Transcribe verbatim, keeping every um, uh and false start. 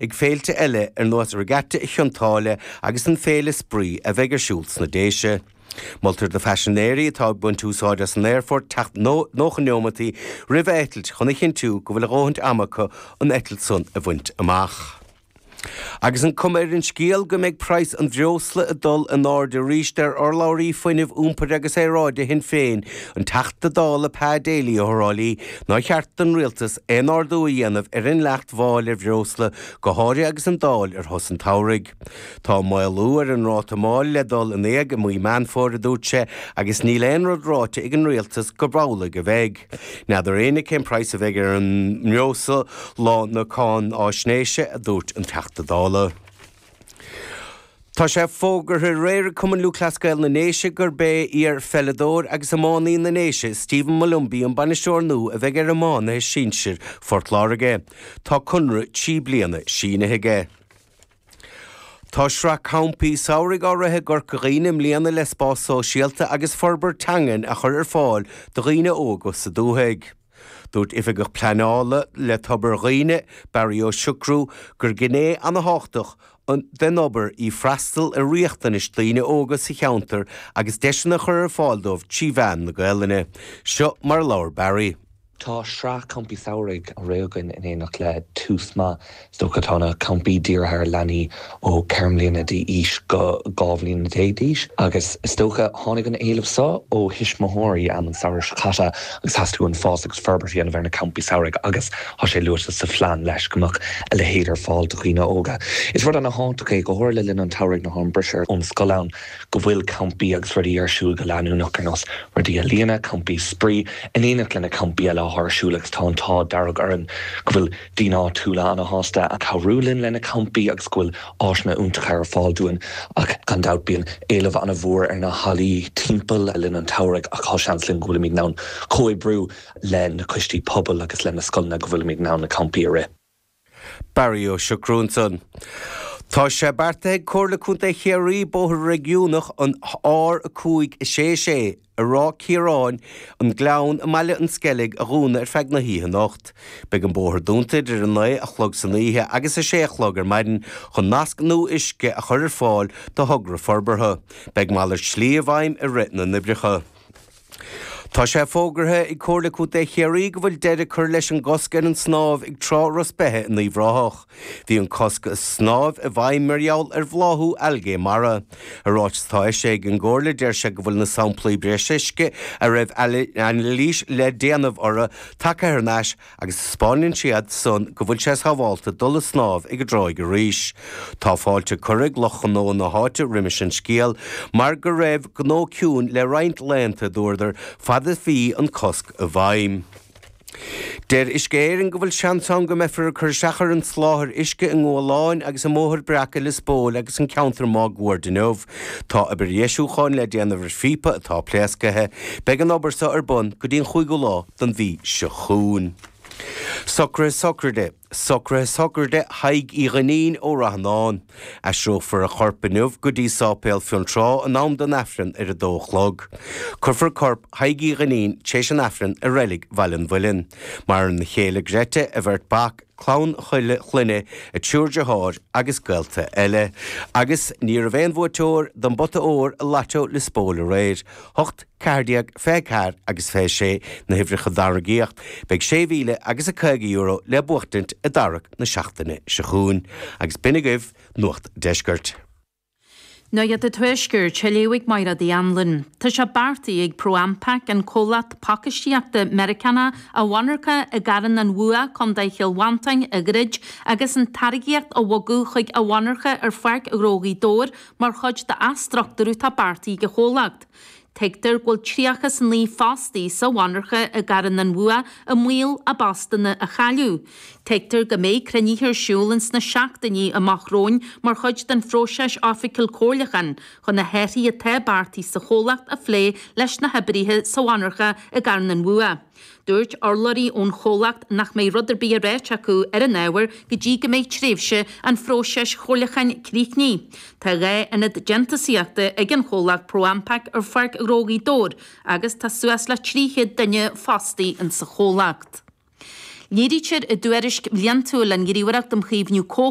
ag féilte eile ar nós Regatta Chionn tSáile agus an Féile Spraoi a bheidh ar siúl sna Déise. Moltar do phaisinéirí atá ag baint úsáid as an aerfort teacht nócha neomataí roimh eitilt chun a chinntiú go bhfuil a ndóthain ama acu an eitilt san a bhaint amach. Agus an cuma ar an scéal go mbeidh praghas an bhreosla ag dul in airde arís ar urlabhraí fuinnimh iompair agus aeráide Shinn Féin an Teachta Dála Pa Daly ó Thrá Lí nár cheart don rialtas aon ardú a dhéanamh ar an dleacht mháil ar bhreosla go háirithe agus an Dáil ar shos an tsamhraidh. Tá maolú ar an ráta máil le dul in éag i mí Meán Fómhair a dúirt sé agus níl aon rud ráite ag an rialtas go amhlaidh a bheidh. N'fheadar éinne cén praghas a bheidh ar an mbreosla lá na cáinaisnéise a dúirt an Teachta Dála. Tá sé fógartha aréir ag Cumann Lúthchleas Gael na nDéise gurb é iar-pheileadóir agus iománaí na nDéise Stephen Molumby an bainisteoir nua a bheidh ar iománaithe sinsir Phort Láirge. Tá conradh trí bliana sínithe aige. Tá sraith campaí samhraidh á rith i gCorca Dhuibhne i mbliana le spás sóisialta agus forbairt teangan a chur ar fáil do dhaoine óga sa dúthaigh. Dúirt oifigeach pleanála le Tobar Dhuibhne, Barry Ó Siochrú, gur gné an-tábhachtach den obair í freastal ar riachtanais daoine óga sa cheantar agus deiseanna a chur ar fáil dóibh trí mheán na Gaelainne. Seo mar labhair Barry. Tá sraith campaí samhraidh á rith againn in éineacht le Tús Maith is dócha tá na campaí dírithe ar leanaí ó ceithre mbliana d'aois go dhá bhliain déag d'aois agus is dócha tháinig an éileamh seo ó thuismitheoirí am an samhradh seo caite agus theastaigh an fás agus forbairt dhéanamh ar na campaí samhraidh agus tá sé luaite sa phlean leis go mbeadh a leithéid ar fáil do dhaoine óga. Is rud an-tábhachtach é go háirithe le linn an tsamhraidh nuair atá an briseadh ón scoil ann go bhfuil campaí agus rudaí ar siúl go leanúnach ar nós rudaí ealaíne, campaí spraoi, in éineacht lena campaí eile ar siúl agus tá an t-ádh dearg orainn go bhfuil daoine áitiúla an-sásta a cabhrú linn lena campaí agus go bhfuil áiseanna iontacha ar fáil dúinn ach gan dabht bíonn éileamh an-mhór ar na hallaí timpeall le linn an tsamhraidh ach tá seans linn go bhfuilimid in ann comhoibriú le na coistí pobail agus le na scoileanna go bhfuilimid in ann na campaí a rith. Barry Ó Siochrú ansan. Tá sé beartaithe ag Comhairle Contae Chiarraí bóthar réigiúnach an R a cúig a sé sé i Ráth Ciaráin an Gleann i mBaile an Sceilg a dhúnadh ar feadh na hoíche anocht. Beidh an bóthar dúnta idir a naoi a chlog san oíche agus a sé a chlog ar maidin chun nasc nua uisce a chur ar fáil do thogra forbartha. Beidh malairt slí i bhfeidhm i rith na n-oibreacha. Tá sé fógartha ag Comhairle Contae Chiarraí go bhfuil deireadh curtha leis an gcosc ar an snámh ag Trá Ros Beithe in Uíbh Ráthach. Bhí an cosc snámh i bhfeidhm mar gheall ar bhláthú algae mara. I ráiteas atá eisithe ag an gComhairle deir sé go bhfuil na samplaí breise uisce a raibh anailís le déanamh orthu tagtha thar n-ais agus taispeánann siad san go bhfuil sé sábháilte dul ag snámh ag an dtráigh arís. Tá fáilte curtha ag lucht gnó na háite roimis an scéal mar go raibh gnó ciúin le roinnt laethanta dúradar fad a bhí an cosc i bhfeidhm. Deir Uisce Éireann go bhfuil seans ann go mbeifear ag cur isteach ar an soláthar uisce i nGualáin agus i mBóthar Breac i Lios Póil agus an ceantar máguaird inniu. Tá obair dheisiúcháin le déanamh ar phíopa atá pléasctha. Beidh an obair seo ar bun go dtí an chúigiú lá den mhí seo chugainn. Socruithe sochraide, Socruithe sochraide Thaidhg Uí Dhuinnín ó Ráth an Áin. Aistreofar a chorp inniu go dtí Sáipéal Fionntrá in am don Aifreann ar a dó a chlog. Cuirfear corp Thaidhg Uí Dhuinnín tar éis an Aifrinn i reilig Bhaile an Mhuilinn. Maireann a chéile Greta, a bheirt mhac, clann chuile chlainne, a triúr deartháir agus gaolta eile. Agus ní raibh aon bhuaiteoir don bpota óir i Lotto Lios Póil aréir. Hocht, ceathair déag, fiche ceathair agus fiche sé na huimhreacha a tarraingíodh. Beidh sé mhíle agus a caoga euro le buachtaint i dtarrac na seachtaine seo chugainn. Agus b'in agaibh Nuacht Deiscirt. Nuacht an Tuaiscirt, á léamh ag Máire Uí Anluain. Tá sé beartaithe ag ProAmpac an comhlacht pacáistíochta Meiriceánach a mhonarcha i gCarn an Bhua, Contae Chill Mhantáin a dhruid agus an táirgíocht a bhogadh chuig a mhonarcha ar Pháirc Ghnó Ghaoth Dobhair mar chuid d'athstruchtúrú atá beartaithe ag an chomhlacht. Tuigtear go bhfuil tríocha is a naoi fostaí sa mhonarcha i gCarn an Bhua i mbaol a bpostanna a chailleadh. Tuigtear go mbeidh cruinnithe ar siúl ins na seachtainí amach romhainn mar chuid den phróiseas oifigiúil comhairliúcháin chun na hathruithe atá beartaithe sa chomhlacht a phlé leis na hoibrithe sa mhonarcha i gCarn an Bhua. Dúirt urlabhraí ón chomhlacht nach mbeidh rud ar bith le ráit acu ar an ábhar go dtí go mbeidh tréimhse an phróisis chomhairliúcháin críochnaithe. Tá dhá ionad déantúsaíochta ag an chomhlacht ProAmpac ar Pháirc Ghnó Ghaoth Dobhair agus tá suas le trí chéad duine fostaí insa chomhlacht. Léirítear i dtuairisc bhliantúil an Ghníomhaireacht um Chaomhnú